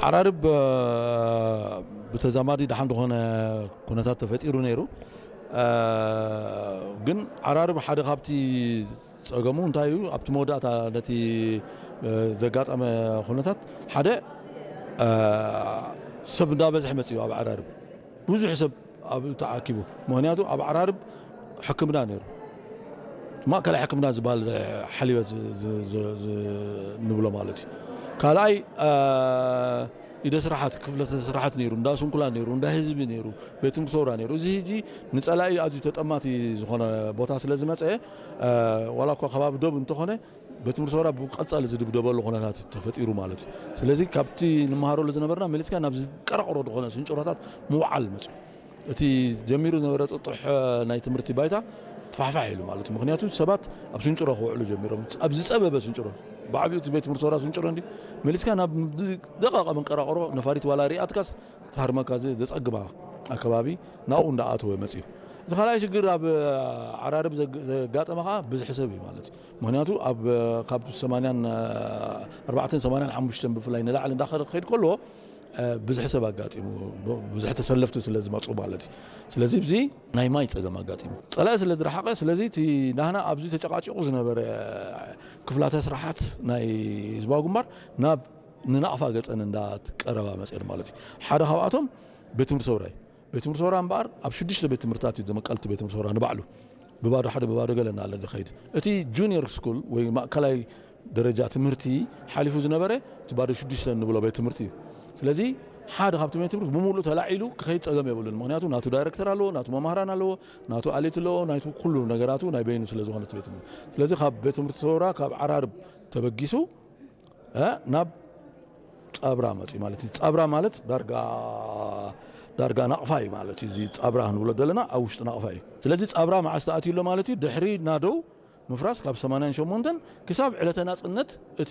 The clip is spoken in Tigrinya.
ዓራርብ ብተዛማዲ ደሓን ዝኾነ ኩነታት ተፈጢሩ ነይሩ። ግን ዓራርብ ሓደ ካብቲ ጸገሙ እንታይ እዩ? ኣብቲ መወዳእታ ነቲ ዘጋጠመ ኩነታት ሓደ ሰብ እንዳበዝሐ መጽኡ ኣብ ዓራርብ ብዙሕ ሰብ ኣብ ተኣኪቡ። ምክንያቱ ኣብ ዓራርብ ሕክምና ነይሩ። ማእከላይ ሕክምና ዝበሃል ሓሊበት ንብሎ ማለት እዩ። ካልኣይ ኢደ ስራሓት ክፍለተ ስራሓት ነይሩ፣ እንዳ ስንኩላ ነይሩ፣ እንዳ ህዝቢ ነይሩ፣ ቤት ትምህርቲ ሰውራ ነይሩ። እዚ ህጂ ንጸላኢ ኣዝዩ ተጠማቲ ዝኾነ ቦታ ስለ ዝመጸ ዋላ እኳ ከባቢ ዶብ እንተኾነ ቤት ትምህርቲ ሰውራ ብቐጻሊ ዝድብደበሉ ኩነታት ተፈጢሩ ማለት እዩ። ስለዚ ካብቲ ንመሃረሉ ዝነበርና መሊስካ ናብ ዝቀራቕሮ ዝኾነ ስንጭሮታት ምውዓል መጽዩ። እቲ ጀሚሩ ዝነበረ ጥጡሕ ናይ ትምህርቲ ባይታ ፋሕፋሕ ኢሉ ማለት እዩ። ምክንያቱ ሰባት ኣብ ስንጭሮ ክውዕሉ ጀሚሮም፣ ኣብ ዝጸበበ ስንጭሮ፣ ብዓቢኡ እቲ ቤት ትምህርቲ ሰውራ ስንጭሮ እንዲ መሊስካ ናብ ደቃቐ መንቀራቕሮ ነፋሪት ዋላ ሪኣትካስ ትሃርመካ ዘጸግማ ኣከባቢ ናብኡ እንዳኣተወ መጽዩ። እዚ ካልኣይ ሽግር ኣብ ዓራርብ ዘጋጠመ ከዓ ብዝሒ ሰብ እዩ ማለት እዩ። ምክንያቱ ኣብ ካብ ሰማንያን ኣርባዕተን ሰማንያን ሓሙሽተን ብፍላይ ንላዕሊ እንዳኸደ ክኸይድ ከሎ ብዝሒ ሰብ ኣጋጢሙ፣ ብዙሕ ተሰለፍቲ ስለ ዝመፁ ማለት እዩ። ስለዚ እዚ ናይ ማይ ፀገም ኣጋጢሙ፣ ፀላኢ ስለ ዝረሓቐ፣ ስለዚ እቲ ናህና ኣብዚ ተጨቃጭቑ ዝነበረ ክፍላተ ስራሓት ናይ ህዝባዊ ግንባር ናብ ንናቕፋ ገፀን እንዳትቀረባ መፅአን ማለት እዩ። ሓደ ካብኣቶም ቤት ትምህርቲ ሰውራይ ቤት ትምህርቲ ሰውራ እምበኣር ኣብ ሽዱሽተ ቤት ትምህርትታት እዩ ዝመቀልቲ ቤት ትምህርቲ ሰውራ ንባዕሉ ብባዶ ሓደ ብባዶ ገለ እናለ ዝኸይድ። እቲ ጁኒየር ስኩል ወይ ማእከላይ ደረጃ ትምህርቲ ሓሊፉ ዝነበረ እቲ ባዶ ሽዱሽተ እንብሎ ቤት ትምህርቲ እዩ። ስለዚ ሓደ ካብቲ ቤት ትምህርቲ ብምሉእ ተላዒሉ ክኸይድ ጸገም የብሉን። ምክንያቱ ናቱ ዳይረክተር ኣለዎ፣ ናቱ መማህራን ኣለዎ፣ ናቱ ኣሌት ኣለዎ፣ ናቱ ኩሉ ነገራቱ ናይ በይኑ ስለ ዝኾነ እቲ ቤት ትምህርቲ። ስለዚ ካብ ቤት ትምህርቲ ሰውራ ካብ ዓራርብ ተበጊሱ ናብ ጻብራ መጽዩ ማለት እዩ። ጻብራ ማለት ዳርጋ ዳርጋ ናቕፋ እዩ ማለት እዩ። እዚ ጻብራ ክንብሎ ዘለና ኣብ ውሽጢ ናቕፋ እዩ። ስለዚ ጻብራ መዓስ ተኣትዩ ኣሎ ማለት እዩ? ድሕሪ ናደው ምፍራስ ካብ ሰማንያን ሸሞንተን ክሳብ ዕለተ ናጽነት እቲ